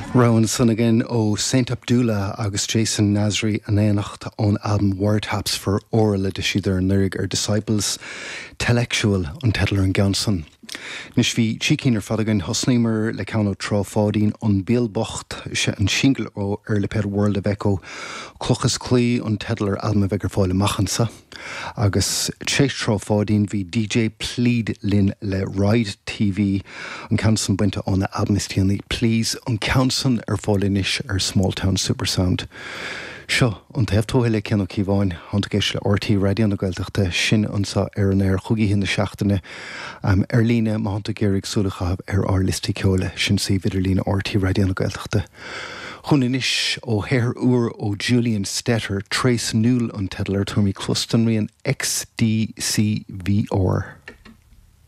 Rogha ansan againn ó Saint Abdullah agus Jason Nazary in éineacht ón albam Wiretaps for Oral a d'eisíodar anuraidh ar Disciples. Tellectual an teideal ar an gceann san. Anois bhí trí cinn ar fad againn. Thosnaíomar le ceann ó Trá Pháidín, An Béal Bocht, sé an singil ó ar lipéad World of Echo. Cloch is Claí an teideal ar albam a bheidh ar fáil amach anso. Agus tar éis Trá Pháidín bhí DJ Plead linn le Ride TV, an ceann san bainte óna albam is déanaí Please, an ceann san ar fáil anois ar Smalltown Supersound. Seo An Taobh Tuaithe le Cian Ó Cíobháin, Tánn tú ag éisteacht le RTÉ Raidió na Gaeltachta, sin anso ar an aer chúig oíche na seachtaine. Ar líne, má thánn tú ag iarraidh súil a chaitheamh ar ár liostaí ceoil, sin suíomh idirlíne RTÉ Raidió na Gaeltachta. Chugainn anois ó shaothar úr ó Julian Stetter, Trace Null an teideal air, tabharfaimid cluas don rian XDCVR.